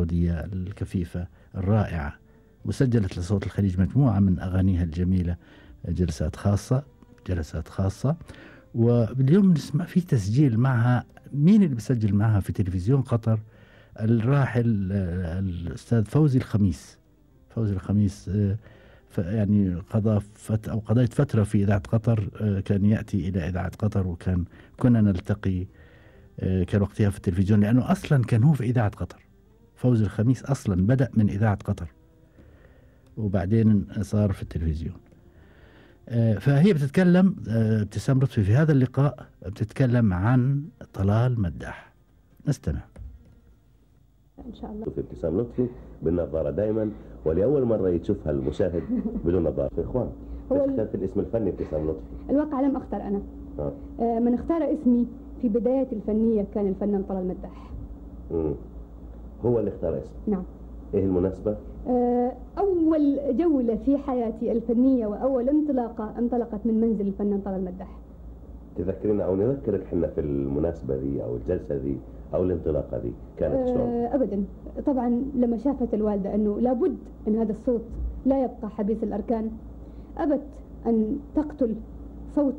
السعودية الكفيفة الرائعة، وسجلت لصوت الخليج مجموعة من أغانيها الجميلة، جلسات خاصة. واليوم نسمع في تسجيل معها. مين اللي بسجل معها في تلفزيون قطر؟ الراحل الأستاذ فوزي الخميس. يعني قضيت فترة في إذاعة قطر. كان يأتي إلى إذاعة قطر كنا نلتقي. كان وقتها في التلفزيون، لأنه أصلا كان هو في إذاعة قطر. فوزي الخميس أصلا بدأ من إذاعة قطر وبعدين صار في التلفزيون. فهي بتتكلم ابتسام لطفي في هذا اللقاء، بتتكلم عن طلال مداح. نستمع إن شاء الله. في ابتسام لطفي بالنظارة دائما، ولأول مرة يشوفها المشاهد بدون نظارة. في إخوان اخترت الاسم الفني ابتسام لطفي؟ الواقع لم أختار أنا. من اختار اسمي في بداية الفنية كان الفنان طلال مداح. هو اللي اختار اسم؟ نعم. ايه المناسبة؟ أول جولة في حياتي الفنية وأول انطلاقة انطلقت من منزل الفنان طلال مداح. تذكرين أو نذكرك احنا في المناسبة دي أو الجلسة دي أو الانطلاقة دي كانت شلون؟ أبدا. طبعا لما شافت الوالدة أنه لابد أن هذا الصوت لا يبقى حبيس الأركان، أبت أن تقتل صوت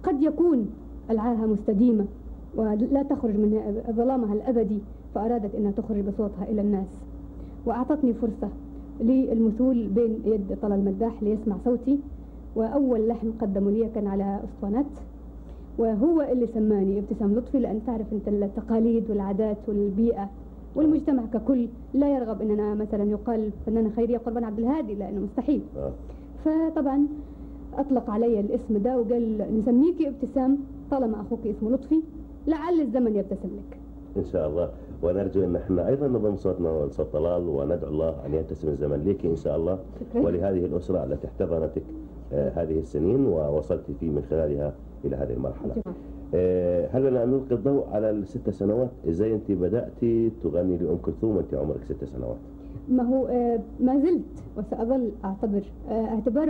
قد يكون العاهة مستديمة ولا تخرج من ظلامها الأبدي، فأرادت أنها تخرج بصوتها إلى الناس، وأعطتني فرصة للمثول بين يد طلال مداح ليسمع صوتي. وأول لحن قدمه لي كان على أسطوانات، وهو اللي سماني ابتسام لطفي، لأن تعرف أنت التقاليد والعادات والبيئة والمجتمع ككل لا يرغب أننا مثلا يقال فنانة خيرية قربان عبد الهادي، لأنه مستحيل. فطبعا أطلق علي الاسم ده وقال نسميكي ابتسام طالما أخوك اسمه لطفي، لعل الزمن يبتسم لك إن شاء الله. ونرجو أن احنا أيضا نضم صوتنا وصوت طلال، وندعو الله أن يبتسم الزمن لك إن شاء الله. شكرا. ولهذه الأسرة التي احتضنتك هذه السنين ووصلت فيه من خلالها إلى هذه المرحلة. هل لنا أن نلقي الضوء على ال6 سنوات؟ إزاي أنت بدأتي تغني لأم كلثوم وأنت عمرك 6 سنوات؟ ما هو ما زلت وسأظل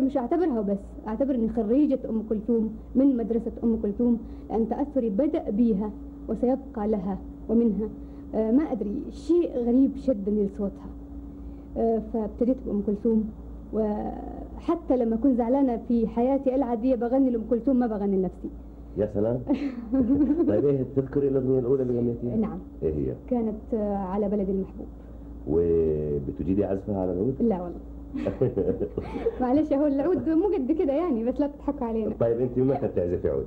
مش أعتبرها وبس، أعتبر أني خريجة أم كلثوم من مدرسة أم كلثوم، لأن تأثري بدأ بيها وسيبقى لها ومنها. ما أدري، شيء غريب شدني لصوتها، فابتديت بأم كلثوم. وحتى لما كنت زعلانة في حياتي العادية بغني لأم كلثوم، ما بغني لنفسي. يا سلام. طيب ايه تذكري الأغنية الأولى اللي غنيتيها؟ نعم. ايه هي؟ كانت على بلدي المحبوب. وبتجيدي عزفها على العود؟ لا والله. معلش، هو العود مو قد كده يعني، بس لا تضحكوا علينا. طيب انت متى بتعزفي عود؟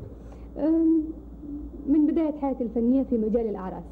من بداية حياتي الفنية في مجال الأعراس.